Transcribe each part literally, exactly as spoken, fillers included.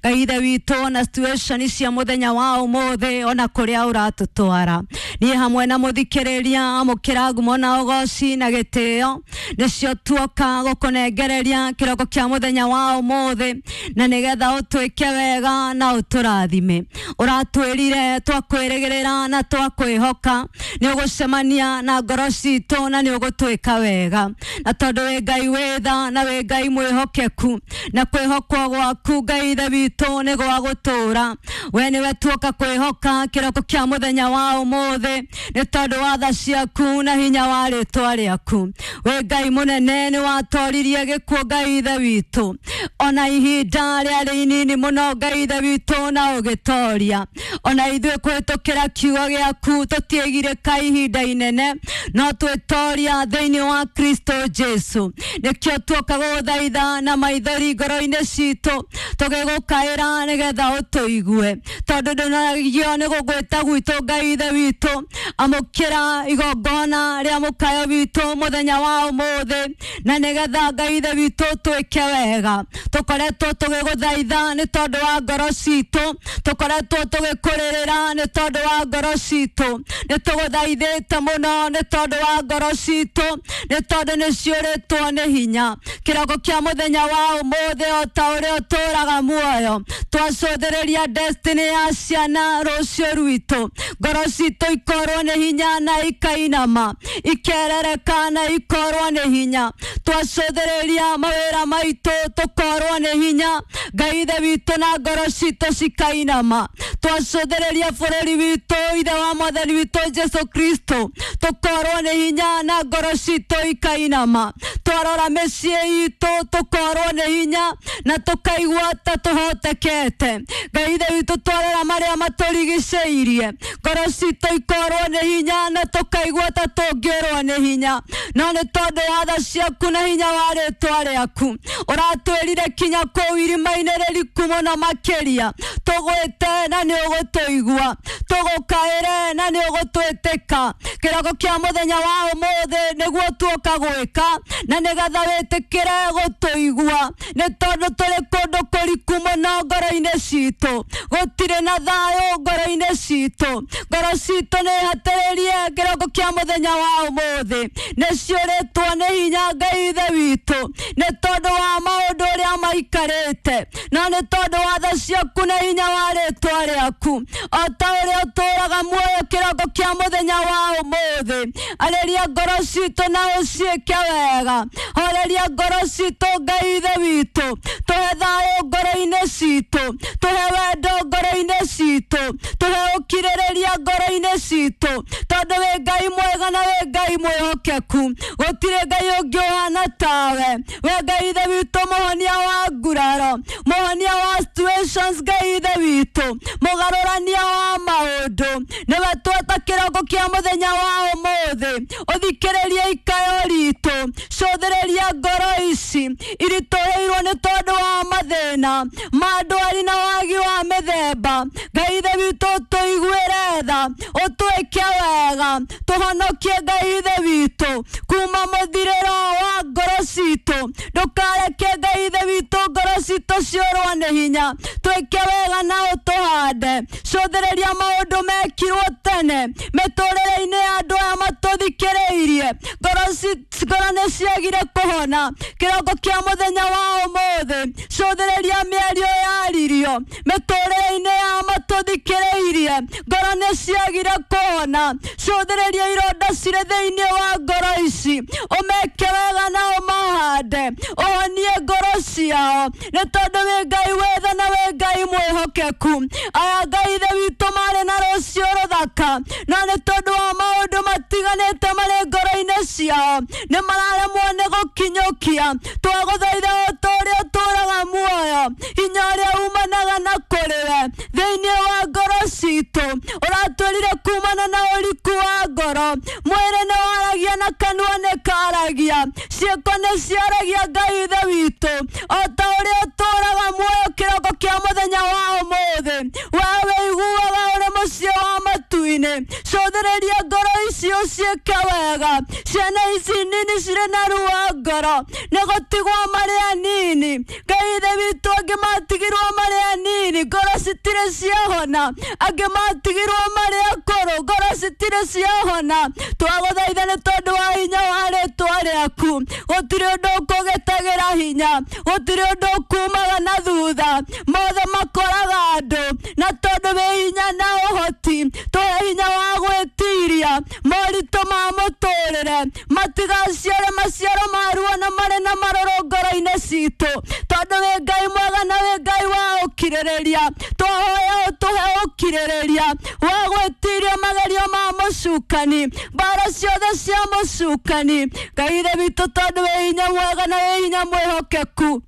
Ngai Ithe witũ na situation cia mũthenya wa ũmũthĩ ona kũrĩa ũratũtwara. Niĩ hamwe na mũthikĩrĩria amũkĩra ngumo na ũgoci na gĩtĩo nĩcio tuoka gũkũnengereria kĩroko kĩa mũthenya wa ũmũthĩ na nĩgetha ũtwĩke wega na ũtũrathime. Ũratwĩrire twakwĩrĩgĩrĩra na twakwĩhoka nĩ ũgũcemania na ngoro citũ na nĩ ũgũtwĩka wega, na tondũ wĩ Ngai wĩ tha na wĩ Ngai mwĩhokeku na kwĩhokwo gwaku Ngai Ithe witũ nĩ gwa gũtũũra. We nĩwe tuoka kwĩhoka kĩroko kĩa mũthenya wa ũmũthĩ nĩ tondũ wa tha ciaku na hinya wa rĩtwa rĩaku. Wĩ Ngai mũnene nĩ watoririe gĩkuũ Ngai Ithe witũ ona ihinda rĩarĩ inini mũno Ngai Ithe witũ na ũgĩtoria. Ona ithuĩ kũhĩtũkĩra kiugo gĩaku tũtiĩgirĩka ihinda inene no twĩtoria thĩinĩ wa Kristo Jesu. Nĩkĩo tuoka gũgũthaitha na maithori ngoro-inĩ citũ tũgĩgũkaĩra nĩgetha ũtũigue, tondũ ndũnagio nĩ gũgwĩta gwitũ Ngai Ithe witũ. Amũkĩra igongona rĩa mũkayo witũ mũthenya wa ũmũthĩ na nĩgetha Ngai Ithe witũ twĩke wega. Tũkoretwo tũgĩgũthaitha nĩ tondũ wa ngoro citũ, tũkoretwo tũgĩkũrĩrĩra nĩ tondũ wa ngoro citũ, nĩ tũgũthaithĩte mũno nĩ tondũ wa ngoro citũ, nĩ tondũ nĩ ciũrĩtwo nĩ hinya. Kĩroko kĩa mũthenya wa ũmũthĩ o ta ũrĩa ũtũũraga muoyo twacũthĩrĩria destiny ya ciana rũciũ rwitũ, ngoro citũ ikorwo nĩ hinya na ikainama, ikerereka na ikorwo nĩ hinya. Twacũthĩrĩria mawĩra maitũ tũkorwo nĩ hinya Ngai Ithe witũ na ngoro citũ cikainama. Twacũthĩrĩria bũrũri witũ Ithe wa Mwathani witũ Jesu Kristo tũkorwo nĩ hinya na ngoro citũ ikainama. Twarora mĩciĩ itũ tũkorwo nĩ hinya na tũkaigua ta tũhotekete. Ngai Ithe witũ twarora marĩa matũrigicĩirie ngoro citũ ikorwo nĩ hinya na tũkaigua ta tũngĩũrwo nĩ hinya, no nĩ tondũ wa tha ciaku na hinya wa rĩtwa rĩaku ũratwĩrire kinya kũu irima-inĩ rĩriku mũno makĩria tũgwĩte na nĩ ũgũtũigua, tũgũkaĩre na nĩ ũgũtwĩtĩka. Kĩroko kĩa mũthenya wa ũmũthĩ nĩguo tuoka gwĩka na nĩgetha wĩtĩkĩre gũtũigua, nĩ tondũ tũrĩ kũndũ kũriku mũno ngoro-inĩ citũ, gũtirĩ na thayũ ngoro-inĩ citũ, ngoro citũ nĩ hatĩrĩrie kĩroko kĩa mũthenya wa ũmũthĩ nĩ ciũrĩtwo nĩ hinya Ngai Ithe witũ nĩ tondũ wa maũndũ ũrĩa maikarĩte, no nĩ tondũ wa tha ciaku na hinya wa rĩtwa rĩaku o ta ũrĩa ũtũũraga muoyo kĩroko kĩa mũthenya wa ũmũthĩ. Arĩria ngoro citũ na ũciĩke wega, horeria ngoro citũ Ngai Ithe witũ, tũhe thayũ ngoro-inĩ citũ, tũhe wendo ngoro-inĩ citũ, tũhe ũkirĩrĩria ngoro-inĩ citũ, tondũ wĩ Ngai mwega na wĩ Ngai mwĩhokeku, gũtirĩ Ngai ũngĩ ũhana tawe. We Ngai Ithe witũ mũhonia wa nguraro, mũhonia wa situations Ngai Ithe witũ, mũgarũrania wa maũndũ, nĩwe tweta kĩroko kĩa mũthenya wa ũmũthĩ. Ũthikĩrĩrie ikayo ritũ, cũthĩrĩria ngoro ici iritũhĩirwo nĩ tondũ wa mathĩna ma ndwari na wagi wa mĩthemba. Ngai Ithe witũ ũtũiguĩre tha, ũtwĩke wega, tũhonokie Ngai Ithe witũ kuma mũthirĩro wa ngoro citũ. Ndũkareke Ngai Ithe witũ ngoro citũ ciũrwo nĩ hinya, twĩke wega na ũtũhande. Cũthĩrĩria maũndũ mekirwo tene mĩtũrĩre-inĩ ya andũ aya matũthikĩrĩirie, ngoro ngoro nĩ ciagire kũhona kĩroko kĩa mũthenya wa ũmũthĩ. Cũthĩrĩria mĩario yaririo mĩtũrĩre-inĩ ya matũthikĩrĩirie, ngoro nĩ ciagire kũhona. Cũthĩrĩria ironda cirĩ thĩinĩ wa ngoro ici, ũmeke wega na ũmahande, ũhonie ngoro ciao, nĩ tondũ wĩ Ngai wĩ tha na wĩ Ngai mwĩhokeku. Aya Ngai Ithe witũ marĩ na rũciũ rũthaka, no nĩ tondũ wa maũndũ matiganĩte marĩ ngoro-inĩ ciao nĩ mararemwo nĩ gũkinyũkia. Twagũthaitha o ta ũrĩa ũtũũraga muoyo, hinya ũrĩa umanaga na kũrĩ we thĩinĩ wa ngoro citũ ũratwĩrire kumana na ũriku wa ngoro. Mwĩrĩ nĩ waragia na kanua nĩ karagia, ciĩko nĩ ciaragia Ngai Ithe witũ o ta ũrĩa ũtũũraga muoyo kĩroko kĩa mũthenya wa ũmũthĩ. We wĩiguaga ũrĩ mũciĩ wa matu-inĩ, cũthĩrĩria ngoro ici ũciĩke wega. Ciana ici nini cirĩ na ruo ngoro nĩ gũtigwo marĩ anini. Ngai Ithe witũ angĩ matigirwo marĩ anini. anini ngoro citirĩ ciahona, angĩ matigirwo marĩ akũrũ ngoro citirĩ ciahona. Twagũthaitha nĩ tondũ wa hinya wa rĩtwa rĩaku, gũtirĩ ũndũ ũkũgĩtagĩra hinya, gũtirĩ ũndũ ũkumaga na thutha, mothe makoraga andũ, na tondũ wĩ hinya na ũhoti, tũhe hinya wa gwĩtiria moritũ ma mũtũrĩre, matigaciare maciaro ma ruo na marĩ na marũrũ ngoro-inĩ citũ, tondũ wĩ Ngai mwega na wĩ Ngai wa ũkirĩrĩria. Twahoya ũtũhe ũkirĩrĩria wa gwĩtiria magerio ma mũcukani, mbara ciothe cia mũcukani. Ngai Ithe witũ, tondũ wĩ hinya mwega na wĩ hinya mwĩhokeku,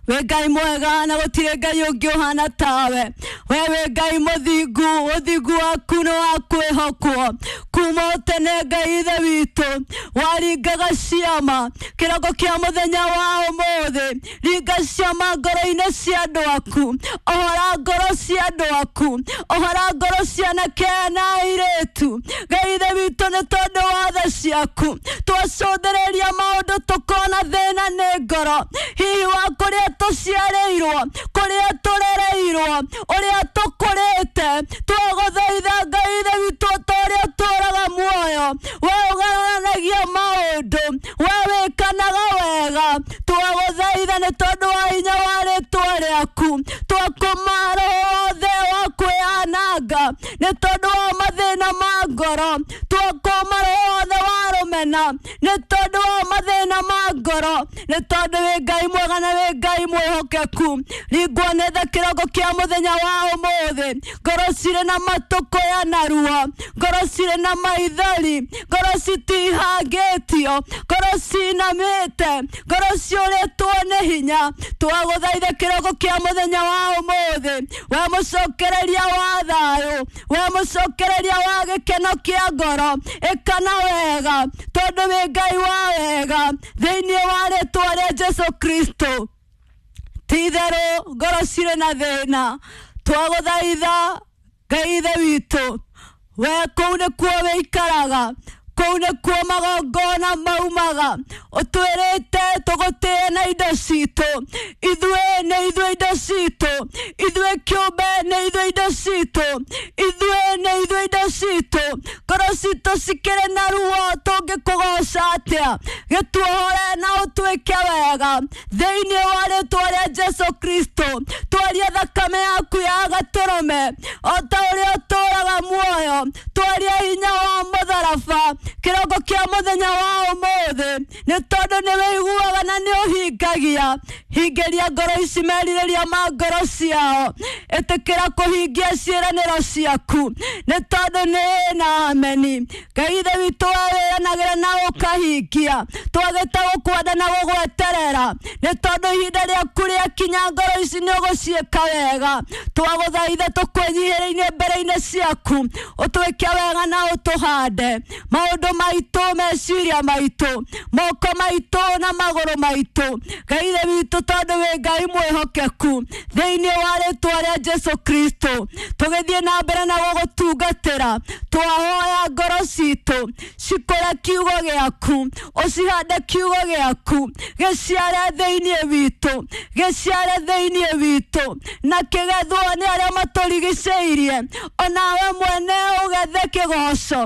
wĩ Ngai mwega na gũtirĩ Ngai ũngĩ ũhana tawe. We wĩ Ngai mũthingu, ũthingu waku nĩ wa kwĩhokwo kuma tene. Ngai Ithe witũ, waringaga ciama kĩroko kĩa mũthenya wa ũmũthĩ, ringa ciama ngoro-inĩ cia andũ aku, ohora ngoro cia andũ aku, ohora ngoro cia anake na airĩtu. Ngai Ithe witũ, nĩ tondũ wa tha ciaku twacũthĩrĩria maũndũ tũkona thĩna nĩ ngoro, hihi wa kũrĩa tũciarĩirwo, kũrĩa tũrereirwo, ũrĩa tũkũrĩte. Twagũthaitha Ngai Ithe witũ, ta ũrĩa ũtũũraga muoyo, we ũgarũranagia maũndũ, we wĩkanaga wega. Twagũthaitha nĩ tondũ wa hinya wa rĩtwa rĩaku, twakũma roho wothe wa kwĩyananga nĩ tondũ wa mathĩna ma ngoro, twakũma roho wothe wa rũmena nĩ tondũ wa mathĩna ma ngoro, nĩ tondũ wĩ Ngai mwega na wĩ Ngai mwĩhokeku. Ringwo nĩ tha kĩroko kĩa mũthenya wa ũmũthĩ, ngoro cirĩ na matũkũya na ruo, ngoro cirĩ na maithori, ngoro citihangĩtio, ngoro cinamĩte, ngoro ciũrĩtwo nĩ hinya. Twagũthaitha kĩroko kĩa mũthenya wa ũmũthĩ, we mũcokereria wa thayũ, we mũcokereria wa gĩkeno kĩa ngoro, ĩkana wega tondũ wĩ Ngai wa wega, thĩinĩ wa rĩtwa rĩa Jesu Kristo. Ti itherũ ngoro cirĩ na thĩna, twagũthaitha Ngai Ithe witũ, we kũu nĩkuo wĩikaraga, kũu nĩkuo magongona maumaga, ũtwĩrĩte tũgũtĩe na indo citũ, ithuĩ nĩ ithuĩ indo citũ, ithuĩ kĩũmbe nĩ ithuĩ indo citũ, ithuĩ nĩ ithuĩ indo citũ. Ngoro citũ cikĩrĩ na ruo, tũngĩkũgoca atĩa? Gĩtuohore na ũtwĩke wega thĩinĩ wa rĩtwa rĩa Jesu Kristo. Twaria thakame yaku ya gatũrũme o ta ũrĩa ũtũũraga muoyo, twaria hinya wa mũtharaba kĩroko kĩa mũthenya wa ũmũthĩ, nĩ tondũ nĩ wĩiguaga na nĩ ũhingagia. Hingĩria ngoro ici merirĩria ma ngoro ciao, ĩtĩkĩra kũhingia ciĩranĩro ciaku, nĩ tondũ nĩ na ameni. Ngai Ithe witũ, we wĩranagĩra na ũkahingia, twagĩte gũkwenda na gũgweterera, nĩ tondũ ihinda rĩaku rĩakinya ngoro ici nĩ ũgũciĩka wega. Twagũthaitha tũkwĩnyihĩrĩirie mbere-inĩ ciaku, ũtwĩke wega na ũtũhande maũndũ maitũ, meciria maitũ, moko maitũ na magũrũ maitũ. Ngai Ithe witũ, tondũ wĩ Ngai mwĩhokeku, thĩinĩ wa rĩtwa rĩa Jesu Kristo, tũgĩthiĩ na mbere na gũgũtungatĩra, twahoya ngoro citũ cikũre kiugo gĩaku, ũcihande kiugo gĩaku, gĩciare thĩinĩ witũ, gĩciare thĩinĩ witũ, na kĩgethwo nĩ arĩa matũrigicĩirie, onawe mwene ũgethe kĩgoco,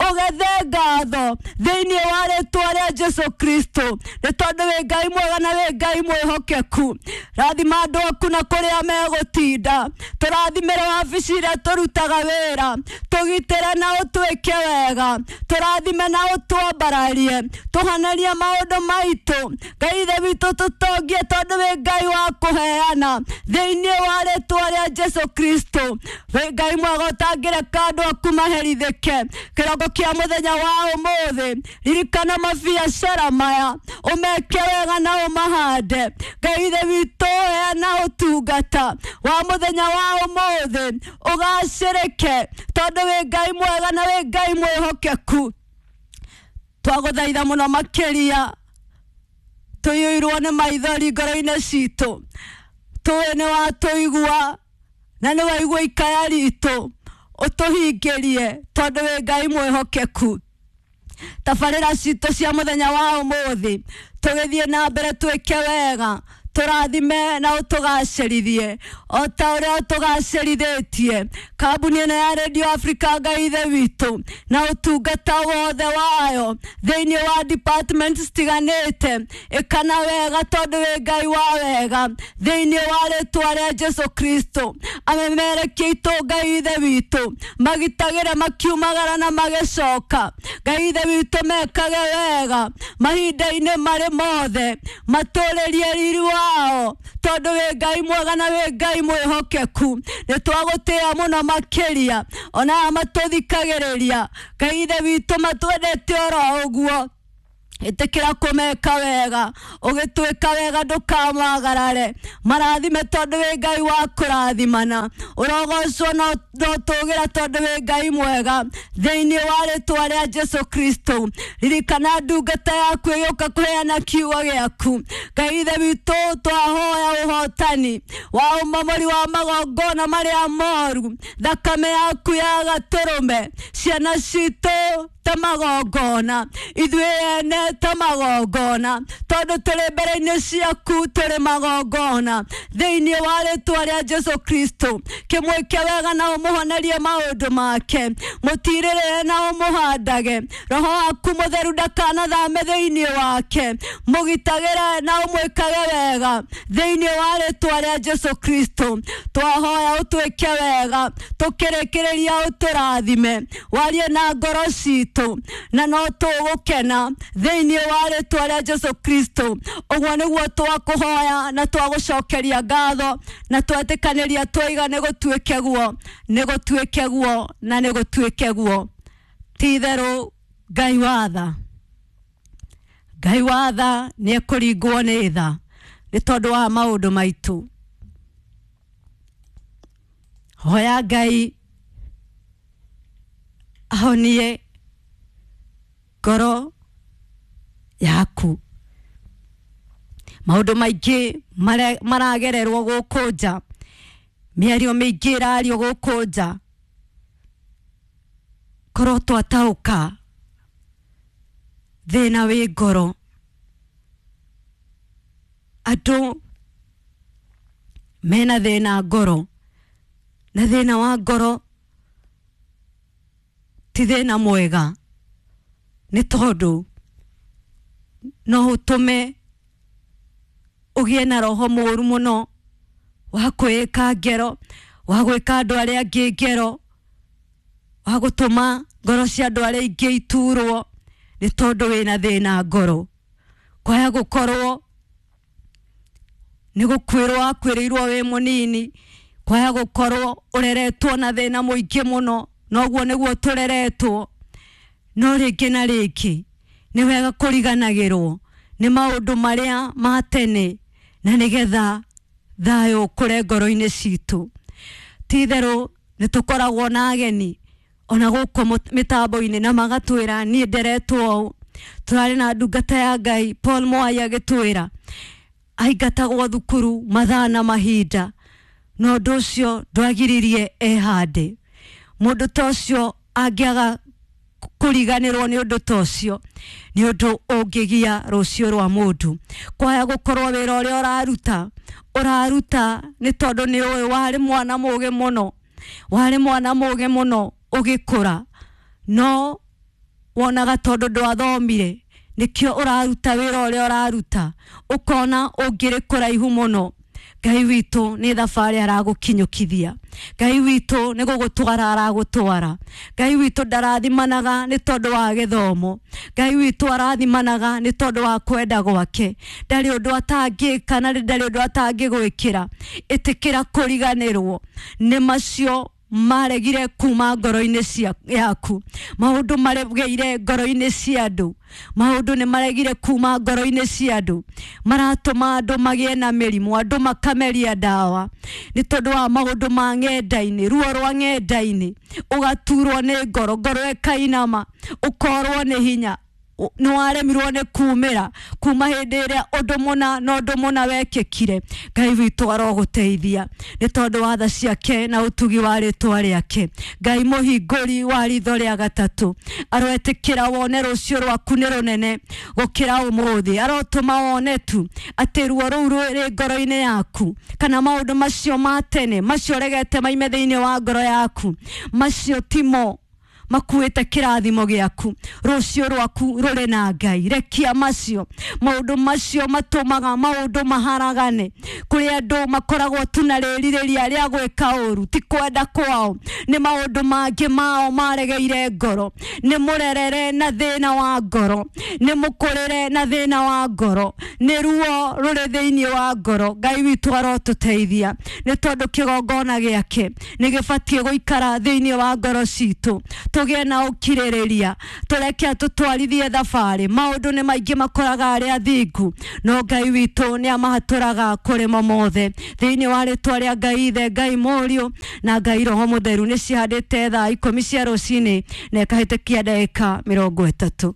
ũgethe ngatho thĩinĩ wa rĩtwa rĩa Jesu Kristo, nĩ tondũ wĩ Ngai mwega na wĩ Ngai mwĩhokeku. Rathima andũ aku na kũrĩa megũtinda, tũrathimĩre wabici iria tũrutaga wĩra, tũgitĩre na ũtwĩke wega, tũrathime na ũtwambararie, tũhanarie maũndũ maitũ. Ngai Ithe witũ, tũtongie tondũ wĩ Ngai wa kũheana thĩinĩ wa rĩtwa rĩa Jesu Kristo. Wĩ Ngai mwega ũtangĩreka andũ aku maherithĩke. Kĩroko kĩa mũthenya wa ũmũthĩ, ririkana mabiacara maya, ũmeke wega na ũmahande. Ngai Ithe witũ, heana ũtungata wa mũthenya wa ũmũthĩ ũgacĩrĩke, tondũ wĩ Ngai mwega na wĩ Ngai mwĩhokeku. Twagũthaitha mũno makĩria, tũiyũirwo nĩ maithori ngoro-inĩ citũ, tũĩ nĩ watũigua na nĩ waigua ikaya ritũ, ũtũhingĩrie tondũ wĩ Ngai mwĩhokeku. Tabarĩra citũ cia mũthenya wa ũmũthĩ, tũgĩthiĩ na mbere twĩke wega, Tũrathime na ũtũgacĩrithie o ta ũrĩa ũtũgacĩrithĩtie kambuni ĩno ya Radio Africa Ngai ithe witũ na ũtungata wothe wayo thĩinĩ wa department citiganĩte. Ĩkana wega tondũ wĩ Ngai wa wega thĩinĩ wa rĩtwa rĩa Jesu Kristo. Amemerekia itũ Ngai ithe witũ magitagĩre makiumagara na magĩcoka. Ngai ithe witũ mekage wega mahinda-inĩ marĩ mothe, matũrĩrie riri wao tondũ wĩ Ngai mwega na wĩ Ngai mwĩhokeku. Nĩ twagũtĩĩa mũno makĩria ona aya matũthikagĩrĩria. Ngai ithe witũ matwendete oro ũguo. Ĩtĩkĩra kũmeka wega, ũgĩtwĩka wega ndũkamagarare. Marathime tondũ wĩ Ngai wa kũrathimana. Ũrogocwo na ũtũgĩra tondũ wĩ Ngai mwega thĩinĩ wa rĩtwa rĩa Jesu Kristo. Ririkana ndungata yaku ĩgĩũka kũheana kiugo gĩaku. Ngai ithe witũ twahoya ũhotani wa ũmomori wa magongona marĩa moru, thakame yaku ya gatũrũme, ciana citũ ta magongona, ithuĩ ene ta magongona, tondũ tũrĩ mbere-inĩ ciaku tũrĩ magongona thĩinĩ wa rĩtwa rĩa Jesu Kristo. Kĩmwĩke wega na ũmũhonerie maũndũ make, mũtirĩrĩre na ũmũhandage. Roho waku mũtheru ndakanathame thĩinĩ wake, mũgitagĩre na ũmwĩkage wega thĩinĩ wa rĩtwa rĩa Jesu Kristo. Twahoya ũtwĩke wega, tũkĩrĩkĩrĩria ũtũrathime, warie na ngoro citũ na no tũgũkena thĩinĩ wa rĩtwa rĩa Jesu Kristo. Ũguo nĩguo twakũhoya na twagũcokeria ngatho na twetĩkanĩria twaiga nĩ gũtuĩke guo, nĩ gũtuĩke guo na nĩ gũtuĩke guo. Ti itherũ Ngai wa tha, Ngai wa tha nĩ ekũringwo nĩ tha nĩ tondũ wa maũndũ maitũ. Hoya Ngai ahonie ngoro yaku. Maũndũ maingĩ maragererwo gũkũ nja, mĩario mĩingĩ ĩrario gũkũ nja, korwo twataũka thĩna wĩ ngoro. Andũ mena thĩna ngoro, na thĩna wa ngoro ti thĩna mwega, nĩ tondũ no ũtũme ũgĩe na roho mũũru mũno wa kwĩĩka ngero, wa gwĩka andũ arĩa angĩ ngero, wa gũtũma ngoro cia andũ arĩa ingĩ iturwo nĩ tondũ wĩna thĩna ngoro. Kwaya gũkorwo nĩ gũkuĩrwo wakuĩrĩirwo wĩ mũnini, kwaya gũkorwo ũreretwo na thĩna mũingĩ mũno, noguo nĩguo tũreretwo. No rĩngĩ na rĩngĩ nĩ wega kũriganagĩrwo nĩ maũndũ marĩa ma tene na nĩgetha thayũ ũkũre ngoro-inĩ citũ. Ti itherũ nĩ tũkoragwo na ageni ona gũkũ mĩtambo-inĩ na magatwĩra niĩ nderetwo ũũ. Tũrarĩ na ndungata ya Ngai Paul Mwai agĩtwĩra aingatagwo thukuru mathaa na mahinda, na ũndũ ũcio ndwagiririe ehande. Mũndũ ta ũcio angĩaga kũriganĩrwo nĩ ũndũ ta ũcio nĩ ũndũ ũngĩgia rũciũ rwa mũndũ. Kwaya gũkorwo wĩra ũrĩa ũraruta ũraruta nĩ tondũ nĩ ũĩ warĩ mwana mũgĩ mũno, warĩ mwana mũgĩ mũno ũgĩkũra, no wonaga tondũ ndwathomire nĩkĩo ũraruta wĩra ũrĩa ũraruta, ũkona ũngĩrĩ kũraihu mũno. Ngai witũ nĩ thabarĩ aragũkinyũkithia, Ngai witũ nĩ gũgũtwara aragũtwara. Ngai witũ ndarathimanaga nĩ tondũ wa gĩthomo, Ngai witũ arathimanaga nĩ tondũ wa kwenda gwake. Ndarĩ ũndũ atangĩka na ndarĩ ũndũ atangĩgwĩkĩra. Ĩtĩkĩra kũriganĩrwo nĩ macio maregire kuma ngoro-inĩ cia yaku. Maũndũ maregeire ngoro-inĩ cia andũ, maũndũ nĩ maregire kuma ngoro-inĩ cia andũ, maratũma andũ magĩe na mĩrimũ, andũ makameria ndawa nĩ tondũ wa maũndũ ma ng'enda-inĩ, ruo rwa ng'enda-inĩ, ũgaturwo nĩ ngoro, ngoro ĩkainama, ũkorwo nĩ hinya. Nĩ waremirwo nĩ kumĩra kuma hĩndĩ ĩrĩa ũndũ mũna na ũndũ mũna wekĩkire. Ngai witũ arogũteithia nĩ tondũ wa tha ciake na ũtugi wa rĩtwa rĩake. Ngai mũhingũri wa ritho rĩa gatatũ aroetĩkĩra wone rũciũ rwaku nĩ rũnene gũkĩra ũmũthĩ. Arotũma wone tu atĩ ruo rũu rwĩ ngoro-inĩ yaku kana maũndũ macio ma tene macio ũregete maime thĩinĩ wa ngoro yaku, macio timo makuĩte kĩrathimo gĩaku. Rũciũ rwaku rũrĩ na Ngai. Rekia macio maũndũ macio matũmaga maũndũ maharagane. Kũrĩ andũ makoragwo tu na rĩrirĩria rĩa gwĩka ũru, ti kwenda kwao, nĩ maũndũ mangĩ mao maregeire ngoro. Nĩ mũrerere na thĩna wa ngoro, nĩ mũkũrĩre na thĩna wa ngoro, nĩ ruo rũrĩ thĩinĩ wa ngoro. Ngai witũ arotũteithia nĩ tondũ kĩgongona gĩake nĩ gĩbatiĩ gũikara thĩinĩ wa ngoro citũ. Tũgĩe na ũkirĩrĩria, tũreke atũtwarithie thabarĩ. Maũndũ nĩ maingĩ makoraga arĩa athingu, no Ngai witũ nĩ amahatũraga kũrĩ mo mothe. Thĩinĩ wa rĩtwa rĩa Ngai Ithe, Ngai Mũriũ na Ngai Roho Mũtheru, nĩ cihandĩte thaa ikũmi cia rũcinĩ na ĩkahĩtũkia ndagĩka mĩrongo ĩtatũ.